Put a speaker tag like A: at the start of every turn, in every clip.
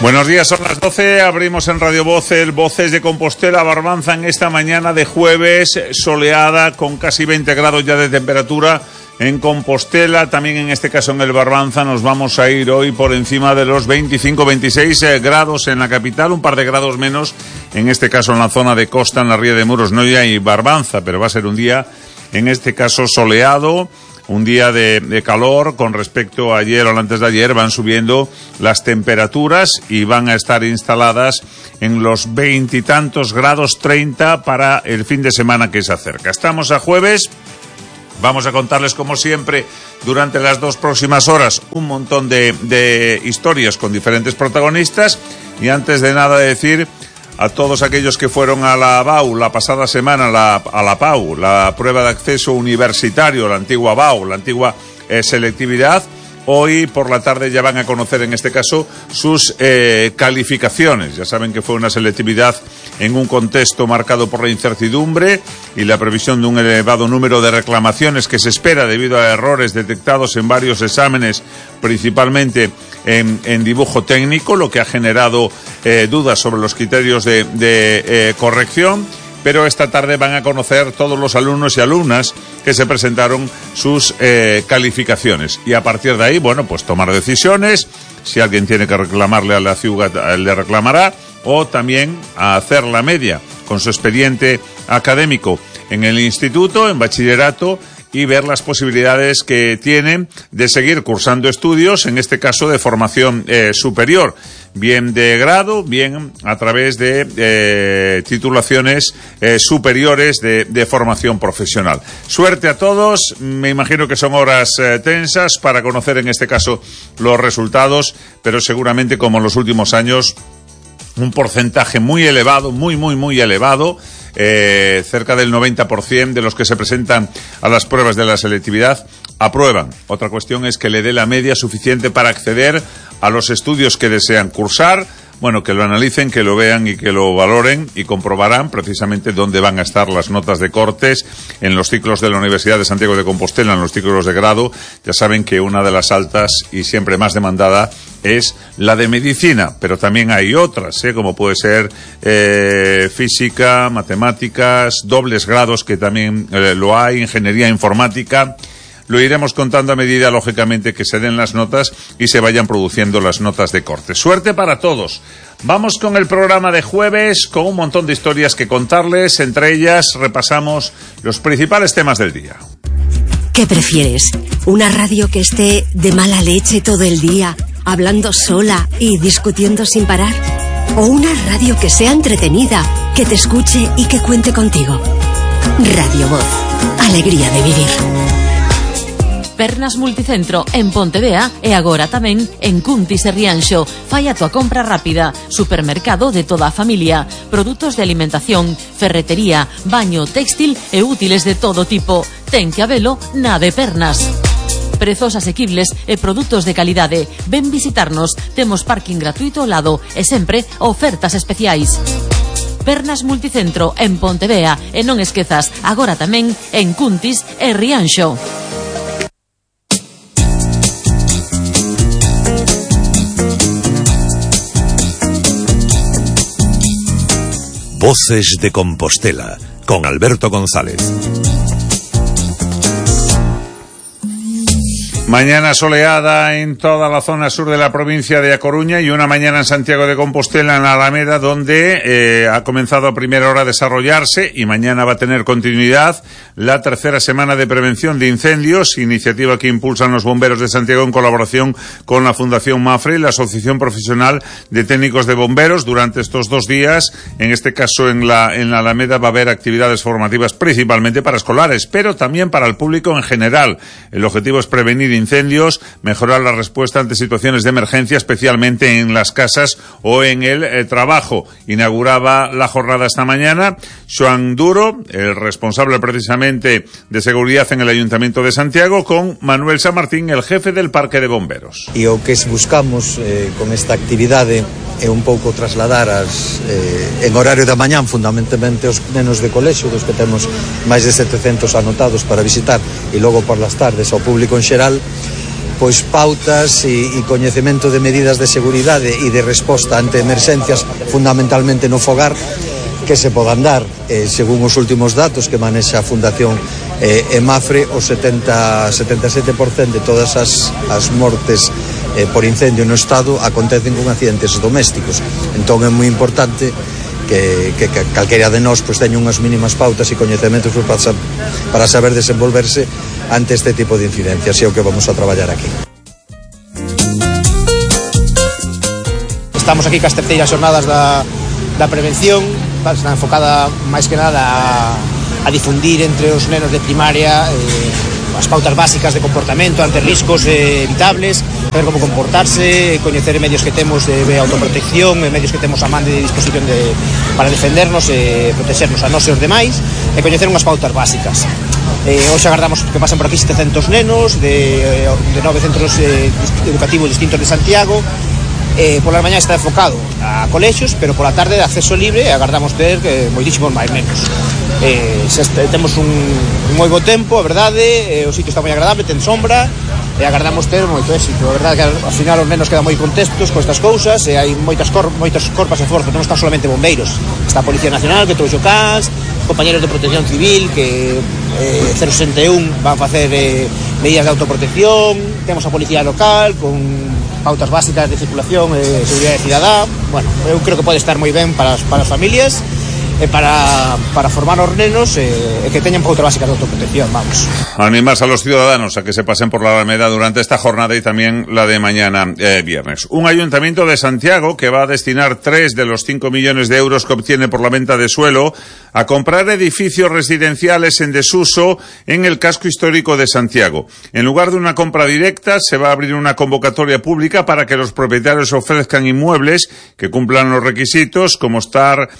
A: Buenos días, son las 12, abrimos en Radio Voz el Voces de Compostela, Barbanza, en esta mañana de jueves, soleada, con casi 20 grados ya de temperatura en Compostela, también en este caso en el Barbanza. Nos vamos a ir hoy por encima de los 25-26 grados en la capital, un par de grados menos, en este caso en la zona de costa, en la Ría de Muros, no hay Barbanza, pero va a ser un día, en este caso, soleado. Un día de calor con respecto a ayer o antes de ayer. Van subiendo las temperaturas y van a estar instaladas en los 20 y tantos grados, 30 para el fin de semana que se acerca. Estamos a jueves. Vamos a contarles, como siempre, durante las 2 próximas horas, un montón de historias con diferentes protagonistas. Y antes de nada decir a todos aquellos que fueron a la BAU la pasada semana, a la PAU, la prueba de acceso universitario, la antigua BAU, la antigua selectividad, hoy por la tarde ya van a conocer, en este caso, sus calificaciones. Ya saben que fue una selectividad en un contexto marcado por la incertidumbre y la previsión de un elevado número de reclamaciones que se espera debido a errores detectados en varios exámenes, principalmente en dibujo técnico, lo que ha generado dudas sobre los criterios de corrección. Pero esta tarde van a conocer todos los alumnos y alumnas que se presentaron sus calificaciones. Y a partir de ahí, bueno, pues tomar decisiones. Si alguien tiene que reclamarle a la ciudad, le reclamará. O también a hacer la media con su expediente académico en el instituto, en bachillerato, y ver las posibilidades que tienen de seguir cursando estudios, en este caso de formación superior, bien de grado, bien a través de titulaciones superiores de formación profesional. Suerte a todos, me imagino que son horas tensas para conocer en este caso los resultados, pero seguramente, como en los últimos años, un porcentaje muy elevado, muy elevado, cerca del 90% de los que se presentan a las pruebas de la selectividad aprueban. Otra cuestión es que le dé la media suficiente para acceder a los estudios que desean cursar. Bueno, que lo analicen, que lo vean y que lo valoren, y comprobarán precisamente dónde van a estar las notas de cortes en los ciclos de la Universidad de Santiago de Compostela, en los ciclos de grado. Ya saben que una de las altas y siempre más demandada es la de medicina, pero también hay otras, como puede ser física, matemáticas, dobles grados, que también lo hay, ingeniería informática. Lo iremos contando a medida, lógicamente, que se den las notas y se vayan produciendo las notas de corte. Suerte para todos. Vamos con el programa de jueves, con un montón de historias que contarles. Entre ellas repasamos los principales temas del día.
B: ¿Qué prefieres? ¿Una radio que esté de mala leche todo el día, hablando sola y discutiendo sin parar? ¿O una radio que sea entretenida, que te escuche y que cuente contigo? Radio Voz. Alegría de vivir.
C: Pernas Multicentro en Pontevea e agora tamén en Cuntis e Rianxo. Fai a tua compra rápida. Supermercado de toda a familia. Produtos de alimentación, ferretería, baño, textil e útiles de todo tipo. Ten que habelo na de Pernas. Prezos asequibles e produtos de calidade. Ven visitarnos. Temos parking gratuito ao lado e sempre ofertas especiais. Pernas Multicentro en Pontevea e non esquezas, agora tamén en Cuntis e Rianxo.
D: Voces de Compostela, con Alberto González.
A: Mañana soleada en toda la zona sur de la provincia de A Coruña y una mañana en Santiago de Compostela, en la Alameda, donde ha comenzado a primera hora a desarrollarse, y mañana va a tener continuidad, la tercera semana de prevención de incendios, iniciativa que impulsan los bomberos de Santiago en colaboración con la Fundación Mafre y la Asociación Profesional de Técnicos de Bomberos. Durante estos 2 días, en este caso en la Alameda, va a haber actividades formativas principalmente para escolares, pero también para el público en general. El objetivo es prevenir incendios, mejorar la respuesta ante situaciones de emergencia, especialmente en las casas o en el trabajo. Inauguraba la jornada esta mañana Joan Duro, el responsable precisamente de seguridad en el Ayuntamiento de Santiago, con Manuel San Martín, el jefe del Parque de Bomberos.
E: E o que buscamos con esta actividade é un pouco trasladar en horario da mañán, fundamentalmente os nenos de colexio, dos que temos máis de 700 anotados para visitar, e logo por las tardes ao público en xeral, pois pautas e coñecemento de medidas de seguridade e de resposta ante emerxencias, fundamentalmente no fogar, que se podan dar. Según os últimos datos que manexa a Fundación EMAFRE, o 77% de todas as mortes por incendio no Estado acontecen con accidentes domésticos. Entón é moi importante que calquera de nós pues, teña unhas mínimas pautas e coñecementos para saber desenvolverse ante este tipo de incidencias, e é o que vamos a traballar aquí.
F: Estamos aquí cas terceiras xornadas da prevención, está enfocada máis que nada a difundir entre os nenos de primaria as pautas básicas de comportamento ante riscos evitables, saber como comportarse, coñecer medios que temos de autoprotección, medios que temos a man de disposición para defendernos e protexernos a nós e os demais, e coñecer unhas pautas básicas. Hoxe agardamos que pasen por aquí 700 nenos de 9 centros educativos distintos de Santiago. Pola mañá está enfocado a colexios, pero pola tarde de acceso libre, e agardamos ter moitísimos máis nenos. Temos un moi bo tempo, a verdade, o sitio está moi agradable, ten sombra, e agardamos ter moito éxito. A verdade que ao final os nenos quedan moi contentos con estas cousas, e hai moitas corpas de esforzo, non están solamente bombeiros, está a Policía Nacional que trouxo cans, compañeros de Protección Civil que 061 van a facer medidas de autoprotección, temos a Policía Local con pautas básicas de circulación e seguridade cidadá. Bueno, eu creo que pode estar moi ben para as familias e para formar os nenos e que teñan pautas básicas de autoprotección, vamos.
A: Animas a los ciudadanos a que se pasen por la Alameda durante esta jornada y también la de mañana viernes. Un ayuntamiento de Santiago que va a destinar 3 de los 5 millones de euros que obtiene por la venta de suelo a comprar edificios residenciales en desuso en el casco histórico de Santiago. En lugar de una compra directa, se va a abrir una convocatoria pública para que los propietarios ofrezcan inmuebles que cumplan los requisitos, como estar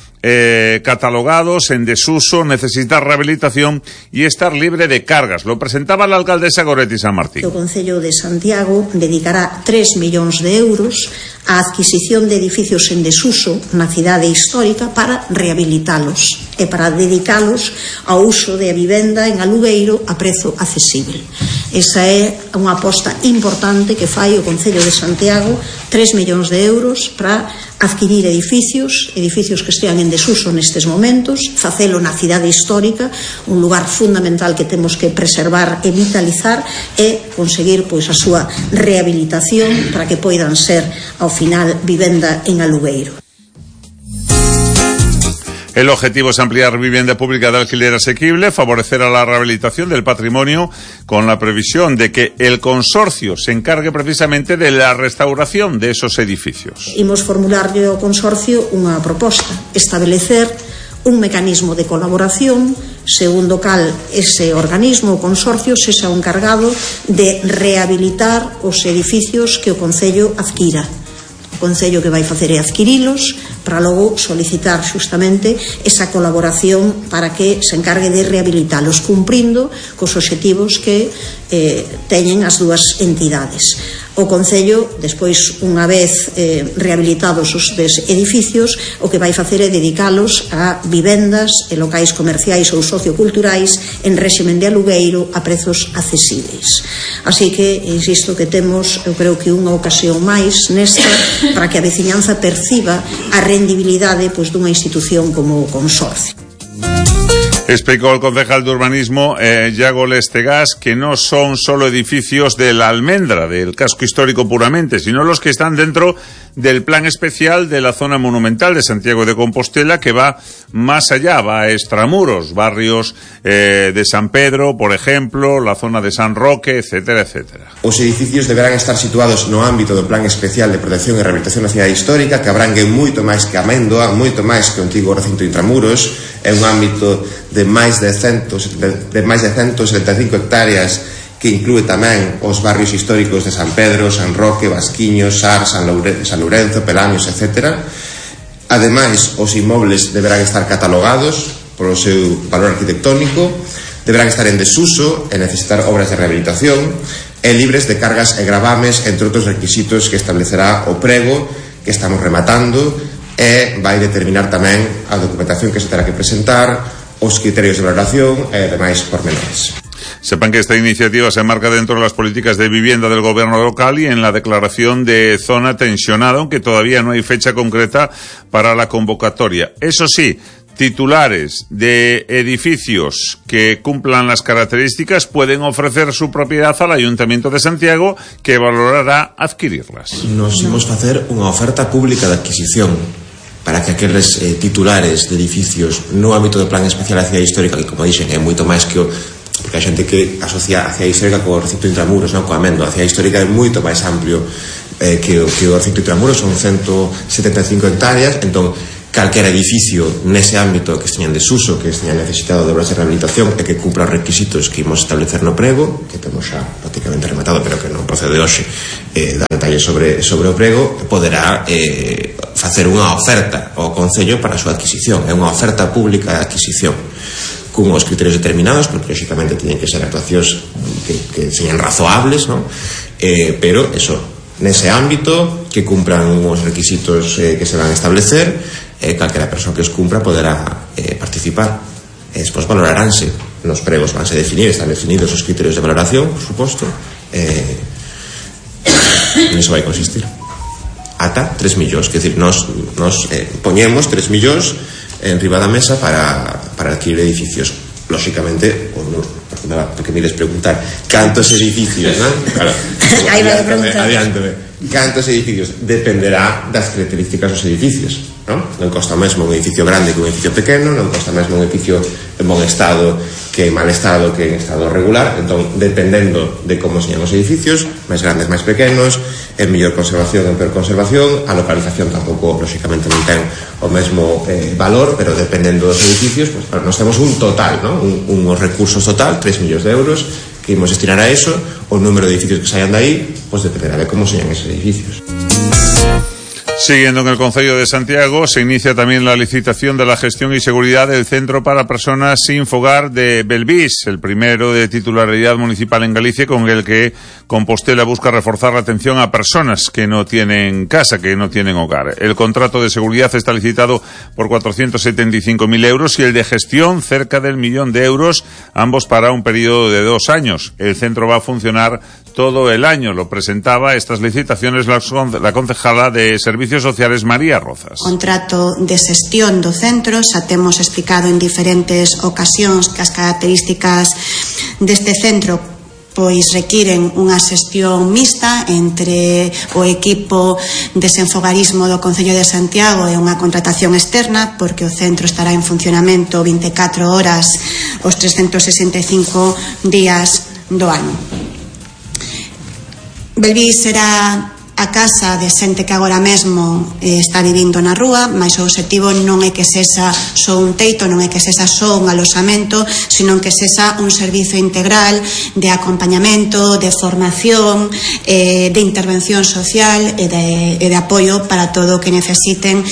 A: catalogados, en desuso, necesitar rehabilitación y estar libre de cargas. Lo presentaba la alcaldesa Goretti San Martín.
G: O Concello de Santiago dedicará 3 millóns de euros á adquisición de edificios en desuso na cidade histórica para rehabilitalos e para dedicalos ao uso de vivenda en alugueiro a prezo accesible. Esa é unha aposta importante que fai o Concello de Santiago, 3 millóns de euros para adquirir edificios que estean en desuso nestes momentos, facelo na cidade histórica, un lugar fundamental que temos que preservar e vitalizar, e conseguir pois a súa rehabilitación para que poidan ser ao final vivenda en alugueiro.
A: El objetivo es ampliar vivienda pública de alquiler asequible, favorecer a la rehabilitación del patrimonio con la previsión de que el consorcio se encargue precisamente de la restauración de esos edificios.
G: Imos formularlle ao consorcio unha proposta, establecer un mecanismo de colaboración segundo cal ese organismo, o consorcio, se xa encargado de rehabilitar os edificios que o Concello adquira. O Concello que vai facer é adquirilos para logo solicitar xustamente esa colaboración para que se encargue de rehabilitalos, cumprindo cos obxectivos que teñen as dúas entidades. O Concello, despois, unha vez rehabilitados os edificios, o que vai facer é dedicalos a vivendas e locais comerciais ou socioculturais en réximen de alugueiro a prezos accesibles. Así que, insisto, que temos, eu creo que unha ocasión máis nesta para que a veciñanza perciba a rendibilidade pois dunha institución como o consorcio.
A: Explicó el concejal de urbanismo, Yago Lestegas, que no son solo edificios de la Almendra, del casco histórico puramente, sino los que están dentro del plan especial de la zona monumental de Santiago de Compostela, que va más allá, va a extramuros, barrios de San Pedro, por ejemplo, la zona de San Roque, etcétera, etcétera.
H: Os edificios deberán estar situados no ámbito do plan especial de protección e rehabilitación da cidade histórica, que abrangue moito máis que Amendoa, moito máis que o antigo recinto de Intramuros. É un ámbito de máis de 175 hectáreas que inclúe tamén os barrios históricos de San Pedro, San Roque, Vasquiños, Sar, San Lourenzo, Pelanios, etc. Ademais, os inmobles deberán estar catalogados polo seu valor arquitectónico, deberán estar en desuso e necesitar obras de rehabilitación e libres de cargas e gravames, entre outros requisitos que establecerá o prego que estamos rematando, e vai determinar tamén a documentación que se terá que presentar, os criterios de valoración e demais pormenores.
A: Sepan que esta iniciativa se enmarca dentro de las políticas de vivienda del gobierno local y en la declaración de zona tensionada, aunque todavía no hay fecha concreta para la convocatoria. Eso sí, titulares de edificios que cumplan las características pueden ofrecer su propiedad al Ayuntamiento de Santiago, que valorará adquirirlas.
H: Nos imos facer unha oferta pública de adquisición para que aqueles titulares de edificios no ámbito do Plan Especial da Cidade Histórica, que, como dixen, é moito máis que o... Porque a xente que asocia a Cidade Histórica co recinto intramuros, non, coa Amendo. A Cidade Histórica é moito máis amplio que o recinto intramuros, son 175 hectáreas, entón calquera edificio nese ámbito que esteñan desuso, que esteñan necesitado de obras de rehabilitación e que cumpra os requisitos que imos establecer no prego, que temos xa prácticamente rematado, pero que non procede hoxe dar detalles sobre o prego, poderá facer unha oferta ao Concello para a súa adquisición. É unha oferta pública de adquisición con os criterios determinados, porque lógicamente tiñen que ser actuacións que sean razoables, non? Pero eso, nese ámbito, que cumpran os requisitos que se van a establecer, calquera persoa que os cumpra poderá participar. Despois valoraránse nos pregos, vanse definir, están definidos os criterios de valoración, por suposto, en iso vai consistir ata 3 millóns, que decir, nos poñemos 3 millóns en riba da mesa para adquirir edificios. Lógicamente, porque me ides preguntar cantos edificios, non? Claro,
G: aí vai preguntar.
H: Adiántame. Cantos edificios? Dependerá das características dos edificios, non? Non costa mesmo un edificio grande que un edificio pequeno, non costa mesmo un edificio en bon estado que en mal estado que en estado regular. Entón, dependendo de como señan os edificios, máis grandes, máis pequenos, en mellor conservación, en peor conservación, a localización tampouco, lógicamente, non ten o mesmo valor, pero dependendo dos edificios, pues, nos temos un total, ¿no? Unos recursos total, 3 millóns de euros, que imos destinar a eso. O número de edificios que saian de aí, pues dependerá de como sean esos edificios.
A: Siguiendo en el Concello de Santiago, se inicia también la licitación de la gestión y seguridad del Centro para Personas Sin Fogar de Belvís, el primero de titularidad municipal en Galicia, con el que Compostela busca reforzar la atención a personas que no tienen casa, que no tienen hogar. El contrato de seguridad está licitado por 475.000 euros y el de gestión cerca del 1.000.000 de euros, ambos para un periodo de 2 años. El centro va a funcionar todo el año. Lo presentaba estas licitaciones la concejala de Servicios Sociales, María Rozas.
I: Contrato de xestión do centro, xa temos explicado en diferentes ocasións que as características deste centro pois requiren unha xestión mixta entre o equipo de desenfogarismo do Concello de Santiago e unha contratación externa, porque o centro estará en funcionamento 24 horas os 365 días do ano. Belvís será a casa de xente que agora mesmo está vivindo na rúa, mas o obxectivo non é que sexa só un teito, non é que sexa só un aloxamento, sino que sexa un servizo integral de acompañamento, de formación, de intervención social e de apoio para todo o que necesiten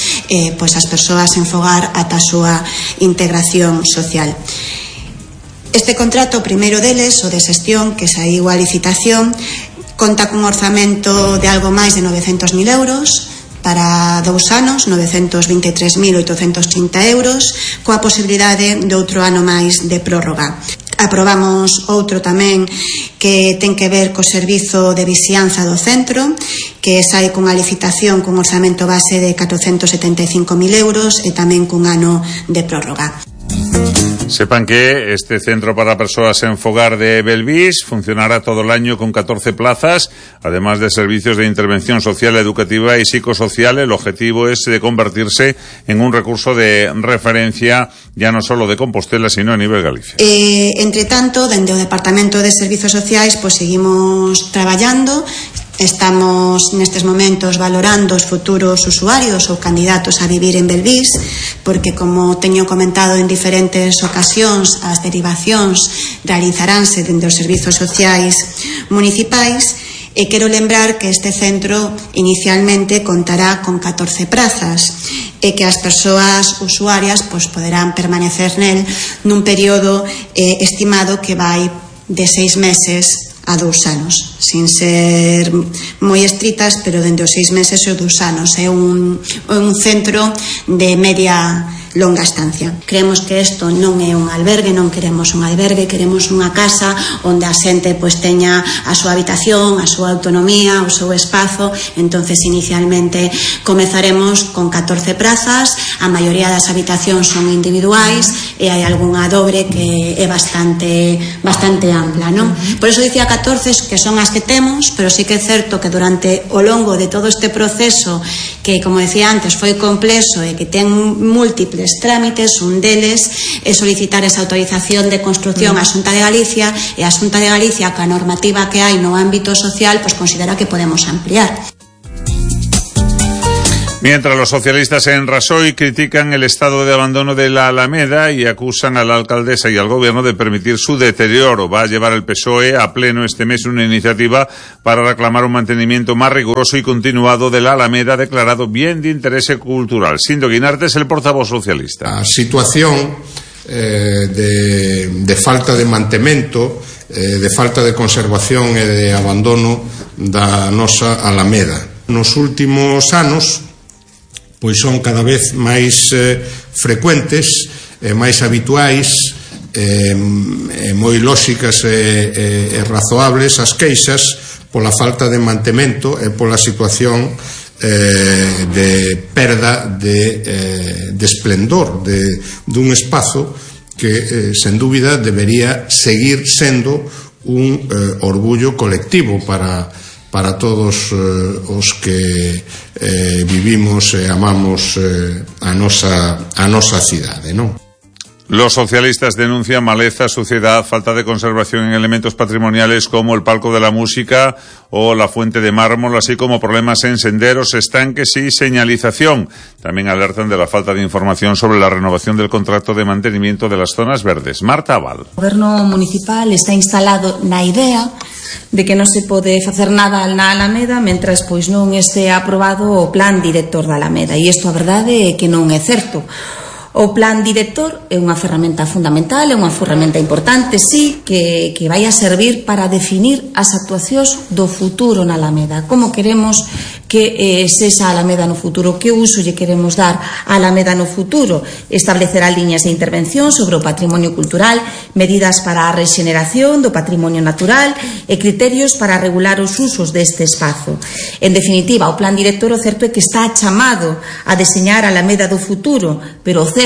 I: pois as persoas en fogar ata a súa integración social. Este contrato, o primeiro deles, o de xestión, que saiu a licitación, conta cun orzamento de algo máis de 900.000 euros para 2 anos, 923.830 euros, coa posibilidade de outro ano máis de prórroga. Aprobamos outro tamén que ten que ver co servizo de vixianza do centro, que sai cunha licitación cun orzamento base de 475.000 euros e tamén cun ano de prórroga.
A: Sepan que este centro para personas en fogar de Belvís funcionará todo el año con 14 plazas, además de servicios de intervención social, educativa y psicosocial. El objetivo es de convertirse en un recurso de referencia ya no solo de Compostela, sino a nivel Galicia.
I: Entre tanto, dende o Departamento de Servicios Sociais, pues seguimos traballando. Estamos nestes momentos valorando os futuros usuarios ou candidatos a vivir en Belvís, porque, como teño comentado en diferentes ocasións, as derivacións realizaránse dende os servizos sociais municipais. E quero lembrar que este centro inicialmente contará con 14 prazas e que as persoas usuarias pois poderán permanecer nel nun período estimado que vai de 6 meses a 2 anos, sin ser moi estritas, pero dende os 6 meses e os 2 anos. É un centro de media longa estancia. Creemos que isto non é un albergue, non queremos un albergue, queremos unha casa onde a xente pois teña a súa habitación, a súa autonomía, o seu espazo. Entonces inicialmente comezaremos con 14 prazas, a maioría das habitacións son individuais e hai algunha dobre que é bastante ampla, non? Por iso dicía 14 que son as que temos, pero sí que é certo que durante o longo de todo este proceso, que como decía antes foi complexo e que ten múltiples trámites, un deles é solicitar esa autorización de construción á Xunta de Galicia, e a Xunta de Galicia, ca normativa que hai no ámbito social, pois considera que podemos ampliar.
A: Mientras los socialistas en Rasoy critican el estado de abandono de la Alameda y acusan a la alcaldesa y al gobierno de permitir su deterioro. Va a llevar el PSOE a pleno este mes una iniciativa para reclamar un mantenimiento más riguroso y continuado de la Alameda, declarado bien de interés cultural. Sindo Guinarte es el portavoz socialista.
J: A situación de falta de mantemento, de falta de conservación e de abandono da nosa Alameda. Nos últimos anos pois son cada vez máis frecuentes, máis habituais, moi lóxicas e razoables as queixas pola falta de mantemento e pola situación de perda de esplendor dun espazo que sen dúbida debería seguir sendo un orgullo colectivo para todos os que vivimos e amamos a nosa cidade, non?
A: Los socialistas denuncian maleza, suciedad, falta de conservación en elementos patrimoniales como el palco de la música o la fuente de mármol, así como problemas en senderos, estanques y señalización. También alertan de la falta de información sobre la renovación del contrato de mantenimiento de las zonas verdes. Marta Abal.
K: O goberno municipal está instalado na idea de que non se pode facer nada na Alameda mentras pois non este aprobado o plan director da Alameda, e isto a verdade é que non é certo. O plan director é unha ferramenta fundamental, é unha ferramenta importante, sí, que vai a servir para definir as actuacións do futuro na Alameda. Como queremos que sexa a Alameda no futuro, que uso lle queremos dar a Alameda no futuro. Establecerá líneas de intervención sobre o patrimonio cultural, medidas para a rexeneración do patrimonio natural e criterios para regular os usos deste espazo. En definitiva, o plan director o certo é que está chamado a deseñar a Alameda do futuro, pero o certo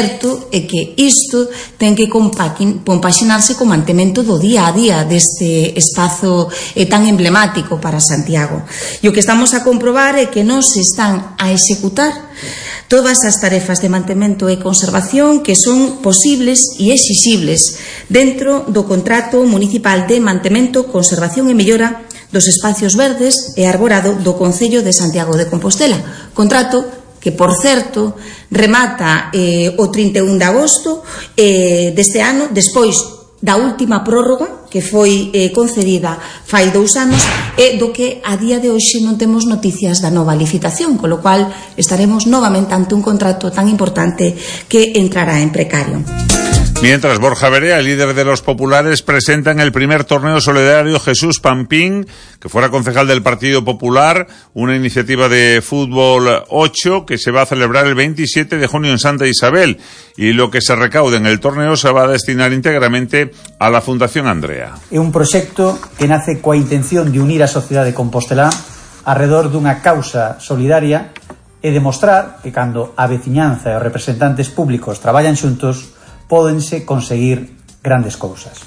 K: é que isto ten que compaxinarse co mantemento do día a día deste espazo tan emblemático para Santiago. E o que estamos a comprobar é que non se están a executar todas as tarefas de mantemento e conservación que son posibles e exixibles dentro do contrato municipal de mantemento, conservación e mellora dos espacios verdes e arborado do Concello de Santiago de Compostela. Contrato que, por certo, remata o 31 de agosto deste ano, despois da última prórroga que foi concedida fai 2 anos e do que a día de hoxe non temos noticias da nova licitación, con lo cual estaremos novamente ante un contrato tan importante que entrará en precario.
A: Mientras, Borja Verea, el líder de los populares, presenta en el primer torneo solidario Jesús Pampín, que fuera concejal del Partido Popular, una iniciativa de fútbol 8 que se va a celebrar el 27 de junio en Santa Isabel, y lo que se recaude en el torneo se va a destinar íntegramente a la Fundación Andrea.
L: É un proxecto que nace coa intención de unir a sociedade de Compostelá alrededor dunha causa solidaria e demostrar que cando a veciñanza e os representantes públicos traballan xuntos pódense conseguir grandes cousas.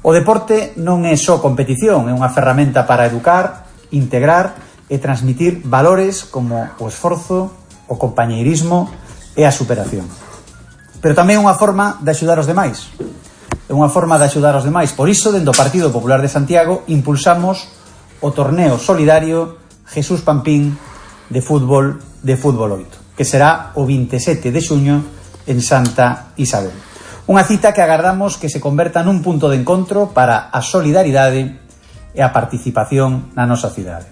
L: O deporte non é só competición, é unha ferramenta para educar, integrar e transmitir valores como o esforzo, o compañeirismo e a superación. Pero tamén é unha forma de axudar os demais. É unha forma de axudar os demais. Por iso, dentro do Partido Popular de Santiago, impulsamos o torneo solidario Jesús Pampín de fútbol 8, que será o 27 de xuño en Santa Isabel. Unha cita que agardamos que se converta nun punto de encontro para a solidaridade e a participación na nosa cidade.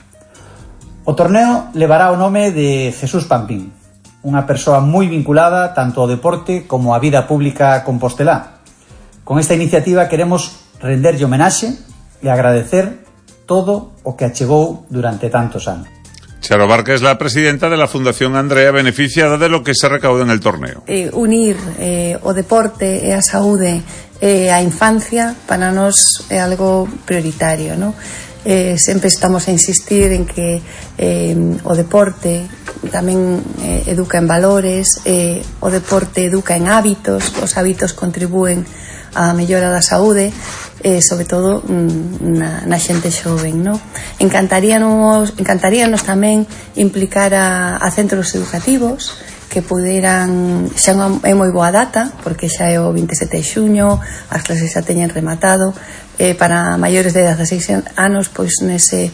L: O torneo levará o nome de Jesús Pampín, unha persoa moi vinculada tanto ao deporte como á vida pública compostelá. Con esta iniciativa queremos renderlle homenaxe e agradecer todo o que achegou durante tantos anos.
A: Charo Barca es la presidenta de la Fundación Andrea, beneficiada de lo que se recauda en el torneo.
M: Unir o deporte e a saúde e a infancia para nós é algo prioritario, non? Sempre estamos a insistir en que o deporte tamén educa en valores, o deporte educa en hábitos, os hábitos contribúen á mellora da saúde, sobre todo na xente xoven, non? Encantaríanos tamén implicar a centros educativos que puderan, xa é moi boa data porque xa é o 27 de xuño, as clases xa teñen rematado, para maiores de 16 anos, pois nese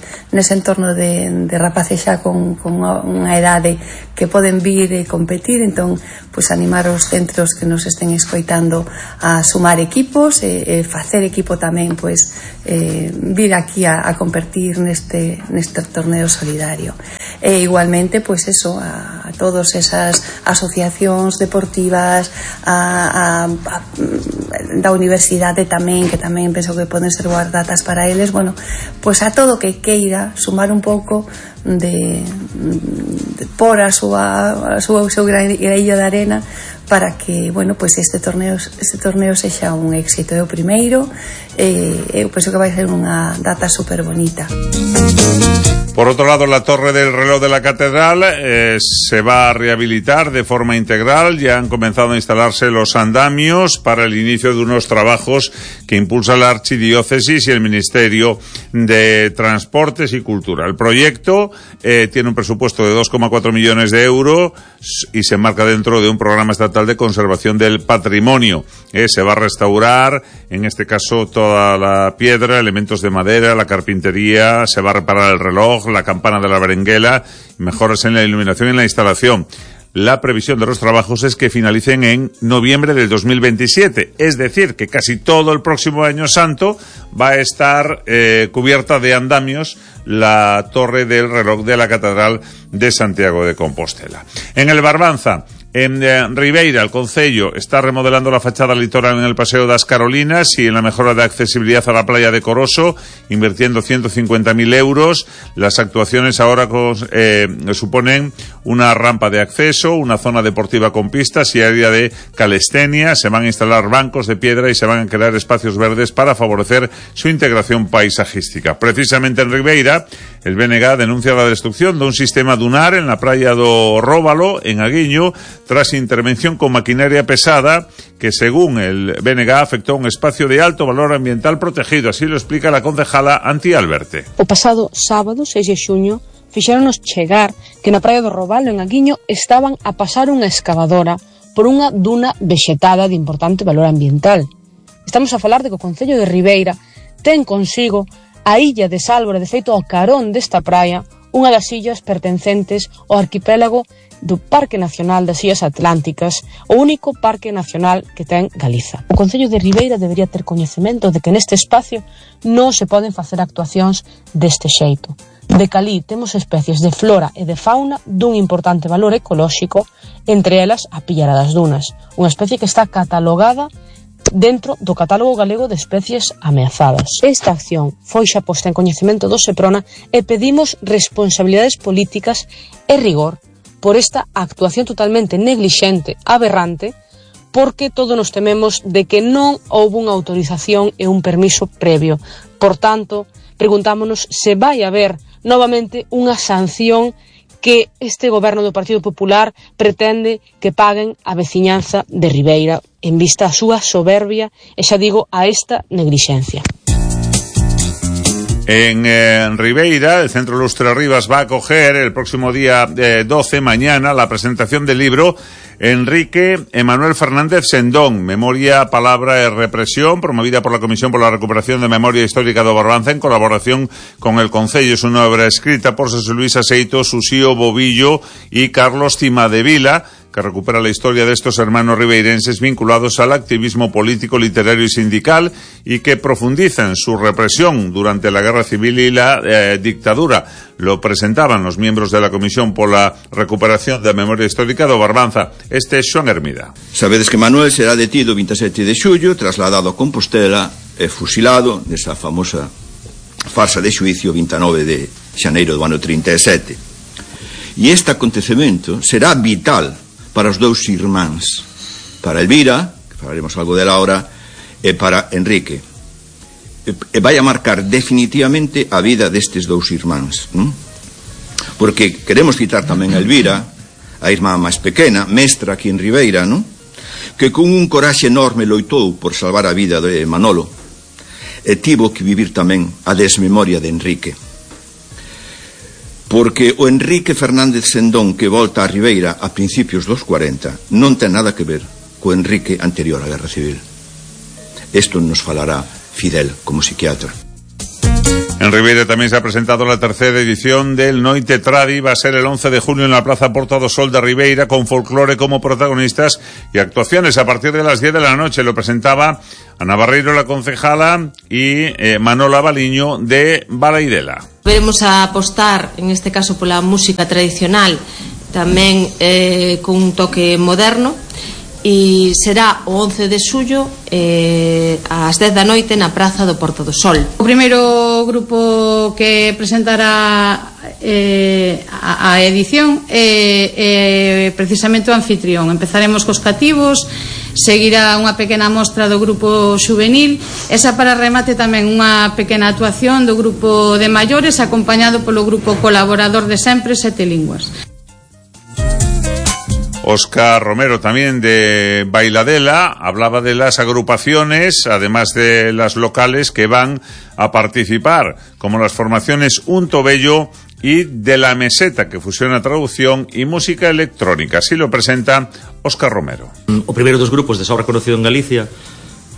M: entorno de rapaces xa con unha edade que poden vir e competir, entón pois animar os centros que nos estén escoitando a sumar equipos e facer equipo tamén, pois vir aquí a competir neste torneo solidario. E igualmente, pois eso, a todas esas asociacións deportivas, da universidade tamén, que tamén penso que poden ser boas datas para eles, bueno, pois a todo que queira sumar un pouco de por o seu graillo de arena para que, bueno, pois este torneo sexa un éxito. É o primeiro, eu penso que vai ser unha data super bonita.
A: Por otro lado, la torre del reloj de la catedral se va a rehabilitar de forma integral. Ya han comenzado a instalarse los andamios para el inicio de unos trabajos que impulsa la Archidiócesis y el Ministerio de Transportes y Cultura. El proyecto tiene un presupuesto de 2,4 millones de euros y se enmarca dentro de un programa estatal de conservación del patrimonio. Se va a restaurar, en este caso, toda la piedra, elementos de madera, la carpintería, se va a reparar el reloj, la campana de la berenguela, mejoras en la iluminación y en la instalación. La previsión de los trabajos es que finalicen en noviembre del 2027, es decir, que casi todo el próximo año santo va a estar cubierta de andamios la torre del reloj de la Catedral de Santiago de Compostela. En el Barbanza, en Ribeira, el Concello está remodelando la fachada litoral en el Paseo das Carolinas y en la mejora de accesibilidad a la playa de Coroso, invirtiendo 150.000 euros. Las actuaciones ahora suponen una rampa de acceso, una zona deportiva con pistas y área de calistenia. Se van a instalar bancos de piedra y se van a crear espacios verdes para favorecer su integración paisajística. Precisamente en Ribeira, el BNG denuncia la destrucción de un sistema dunar en la playa do Róbalo, en Aguiño, tras intervención con maquinaria pesada que, según el BNG, afectó a un espacio de alto valor ambiental protegido. Así lo explica la concejala Antía Alberte.
N: O pasado sábado, 6 de xuño, fixéronos chegar que na praia do Robalo, en Aguiño, estaban a pasar unha excavadora por unha duna vexetada de importante valor ambiental. Estamos a falar de que o Concello de Ribeira ten consigo a illa de Sálvora, de feito ao carón desta praia, unha das illas pertencentes ao arquipélago do Parque Nacional das Illas Atlánticas, o único parque nacional que ten Galiza. O Concello de Ribeira debería ter coñecemento de que neste espacio non se poden facer actuacións deste xeito. De calí temos especies de flora e de fauna dun importante valor ecolóxico, entre elas a pillara das dunas, unha especie que está catalogada dentro do catálogo galego de especies ameazadas. Esta acción foi xa posta en coñecemento do Seprona e pedimos responsabilidades políticas e rigor por esta actuación totalmente neglixente, aberrante, porque todos nos tememos de que non houve unha autorización e un permiso previo. Por tanto, preguntámonos se vai haber novamente unha sanción que este goberno do Partido Popular pretende que paguen a veciñanza de Ribeira en vista a súa soberbia e, xa digo, a esta neglixencia.
A: En Ribeira, el Centro Lustre Rivas va a acoger el próximo día 12, mañana, la presentación del libro Enrique Emanuel Fernández Sendón, Memoria, Palabra y Represión, promovida por la Comisión por la Recuperación de Memoria Histórica do Barbanza en colaboración con el Concello. Es una obra escrita por José Luis Aseito, Susío Bobillo y Carlos Cimadevila, que recupera la historia de estos hermanos ribeirenses vinculados al activismo político, literario y sindical y que profundizan su represión durante la Guerra Civil y la dictadura. Lo presentaban los miembros de la Comisión por la Recuperación de Memoria Histórica do Barbanza. Este é Xoan Hermida.
O: Sabedes que Manuel será detido o 27 de xullo, trasladado a Compostela e fusilado nesa famosa farsa de xuicio 29 de xaneiro do ano 37. E este acontecemento será vital para os dous irmáns, para Elvira, que falaremos algo dela ahora, e para Enrique. E vai a marcar definitivamente a vida destes dous irmáns, non? Porque queremos citar tamén a Elvira, a irmá máis pequena, mestra aquí en Ribeira, non? Que con un coraxe enorme loitou por salvar a vida de Manolo e tivo que vivir tamén a desmemoria de Enrique, porque o Enrique Fernández Sendón que volta a Ribeira a principios dos 40 non ten nada que ver co Enrique anterior á Guerra Civil. Isto nos falará Fidel como psiquiatra.
A: En Ribeira también se ha presentado la tercera edición del Noite Tradi. Va a ser el 11 de junio en la Plaza Porta do Sol de Ribeira, con folclore como protagonistas y actuaciones a partir de las 10 de la noche. Lo presentaba Ana Barreiro, la concejala, y Manola Baliño de Balaidela.
P: Veremos a apostar, en este caso, pola música tradicional, tamén con un toque moderno, e será o 11 de xullo ás 10 da noite na Praza do Porto do Sol.
Q: O primeiro grupo que presentará a edición é precisamente o anfitrión. Empezaremos cos cativos, seguirá unha pequena mostra do grupo xuvenil, esa para remate tamén unha pequena actuación do grupo de maiores, acompañado polo grupo colaborador de sempre Sete Linguas.
A: Óscar Romero, también de Bailadela, hablaba de las agrupaciones, además de las locales, que van a participar, como las formaciones Unto Bello y de la Meseta, que fusiona traducción y música electrónica. Así lo presenta Óscar Romero.
R: O primeiro dos grupos de sobra conocido en Galicia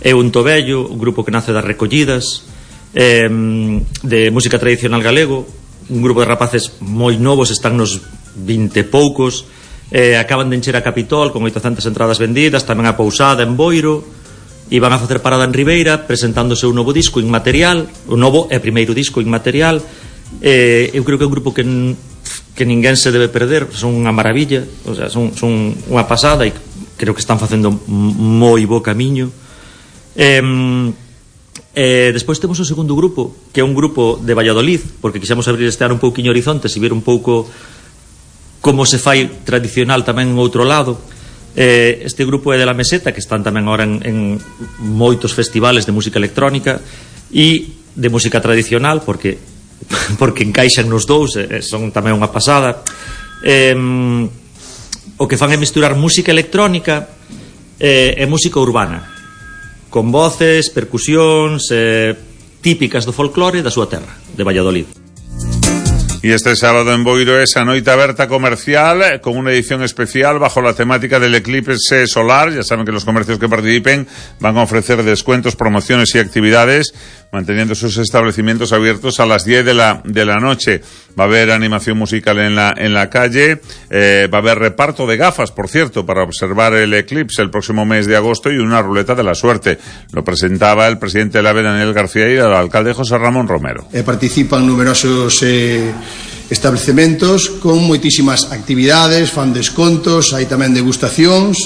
R: é Unto Bello, un grupo que nace das recollidas de música tradicional galego, un grupo de rapaces moi novos, están nos 20 e poucos. Acaban de encher a Capitol con 800 entradas vendidas, tamén a Pousada en Boiro, e van a facer parada en Ribeira presentándose un novo disco Inmaterial, o novo e primeiro disco Inmaterial. Eu creo que é un grupo que ninguén se debe perder, son unha maravilla, o sea, son unha pasada, e creo que están facendo moi bo camiño. Despois temos o segundo grupo, que é un grupo de Valladolid, porque quixemos abrir este ano un pouquiño horizontes e ver un pouco como se fai tradicional tamén en outro lado. Este grupo é de la Meseta, que están tamén ahora en moitos festivales de música electrónica e de música tradicional, porque encaixan nos dous, son tamén unha pasada. O que fan é misturar música electrónica e música urbana, con voces, percusións típicas do folclore da súa terra, de Valladolid.
A: Y este sábado en Boiro es a Noite Aberta Comercial, con una edición especial bajo la temática del eclipse solar. Ya saben que los comercios que participen van a ofrecer descuentos, promociones y actividades, manteniendo sus establecimientos abiertos a las 10 de la noche. Va a haber animación musical en la calle, va a haber reparto de gafas, por cierto, para observar el eclipse el próximo mes de agosto, y una ruleta de la suerte. Lo presentaba el presidente del AVE, Daniel García, y el alcalde José Ramón Romero.
S: Participan numerosos establecementos con moitísimas actividades, fan descontos, hai tamén degustacións,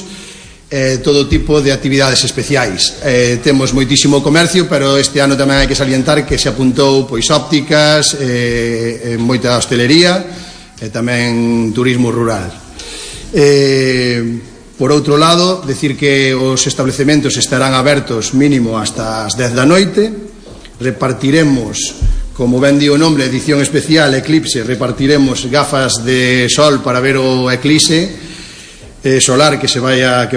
S: todo tipo de actividades especiais. Temos moitísimo comercio, pero este ano tamén hai que salientar que se apuntou pois ópticas, moita hostelería e tamén turismo rural. Por outro lado, decir que os establecementos estarán abertos mínimo hasta as 10 da noite. Repartiremos, como ben di o nome, edición especial Eclipse, repartiremos gafas de sol para ver o eclipse solar que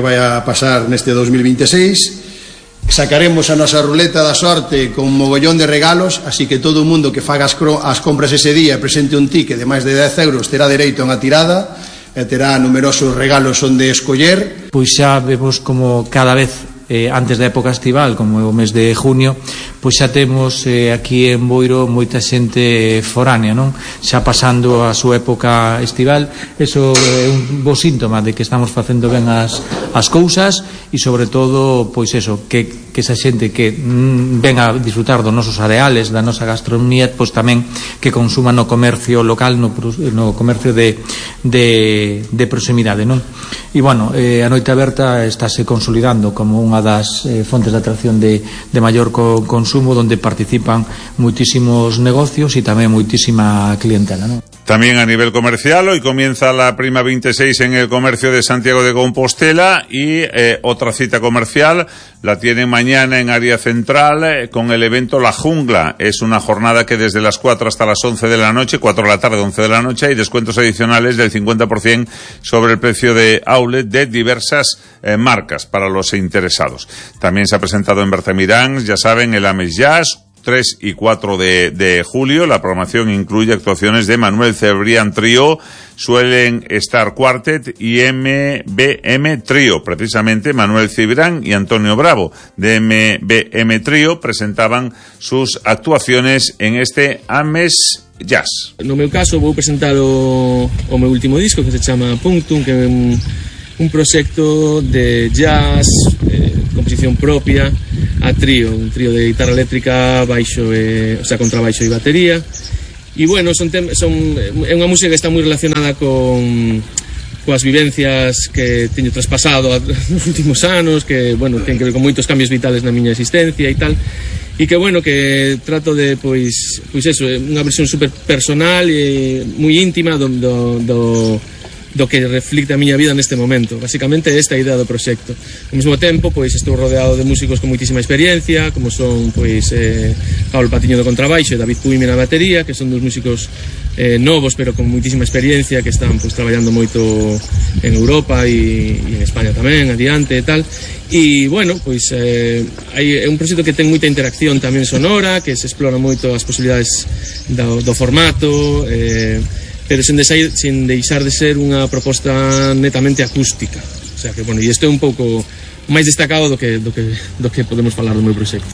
S: vai a pasar neste 2026. Sacaremos a nosa ruleta da sorte con mogollón de regalos, así que todo o mundo que faga as compras ese día e presente un ticket de máis de 10 euros terá dereito a unha tirada e terá numerosos regalos onde escoller.
T: Pois xa vemos como cada vez antes da época estival, como é o mes de junio, pois xa temos aquí en Boiro moita xente foránea, non? Xa pasando a súa época estival. Eso é un bo síntoma de que estamos facendo ben as cousas, e sobre todo, pois eso, que esa xente que ven a disfrutar dos nosos areales, da nosa gastronomía, pois tamén que consuma no comercio local, no comercio de proximidade, non? E bueno, a Noite Aberta estáse consolidando como unha das fontes de atracción de maior consumo, donde participan moitísimos negocios e tamén moitísima clientela, non?
A: También a nivel comercial, hoy comienza la Prima 26 en el comercio de Santiago de Compostela y otra cita comercial la tienen mañana en área central con el evento La Jungla. Es una jornada que desde las 4 hasta las 11 de la noche, 4 de la tarde, 11 de la noche, hay descuentos adicionales del 50% sobre el precio de outlet de diversas marcas para los interesados. También se ha presentado en Bertamirán, ya saben, el Ames Jazz, 3 y 4 de julio. La programación incluye actuaciones de Manuel Cebrián Trío, suelen estar Quartet y MBM Trío. Precisamente Manuel Cebrián y Antonio Bravo de MBM Trío presentaban sus actuaciones en este Ames Jazz.
U: No meu caso vou presentar o meu último disco, que se chama Punctum, que é un proxecto de jazz, composición propia, a trío, un trío de guitarra eléctrica, baixo, contrabaixo e batería. E bueno, é unha música que está moi relacionada coas vivencias que teño traspasado nos últimos anos, que, bueno, ten que ver con moitos cambios vitales na miña existencia e tal, e que, bueno, que trato de, pois eso, unha versión super personal e moi íntima do que reflicte a miña vida neste momento. Basicamente esta é a idea do proxecto. Ao mesmo tempo, pois estou rodeado de músicos con moitísima experiencia, como son pois Pablo Patiño do contrabaixo e David Puime na batería, que son dos músicos novos pero con moitísima experiencia, que están pois traballando moito en Europa e en España tamén, adiante e tal. E, bueno, pois é un proxecto que ten moita interacción tamén sonora, que se explora moito as posibilidades do formato, pero sen deixar de ser unha proposta netamente acústica. O sea que, bueno, e isto é un pouco máis destacado do que podemos falar do meu proxecto.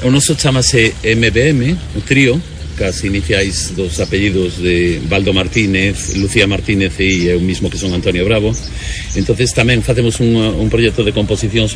V: O noso chamase MBM, o trío, cas iniciais dos apellidos de Baldo Martínez, Lucía Martínez e eu mismo, que son Antonio Bravo. Entonces tamén facemos un proxecto de composicións